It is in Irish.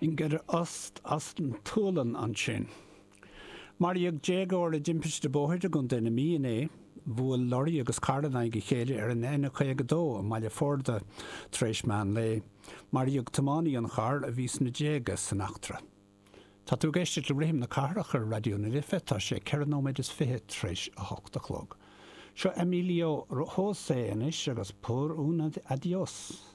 Ingrid Öst as an tSualainn ansin. Maraíodh déagóir i dtimpiste bóthair i gContae na Mí inné. Bhuail lorraí agus carr in aghaidh a chéile ar an N52 i mBaile Forda tar éis meán lae. Maraíodh tiománaí an chairr, a bhí sna déaga, san eachtra. Tá tú ag éisteacht le Rithim na Cathrach ar Raidió na Life, tá sé 4 nóiméad is 20 tar éis a hocht a chlog. Seo Emilio José anois agus Por un Adiós.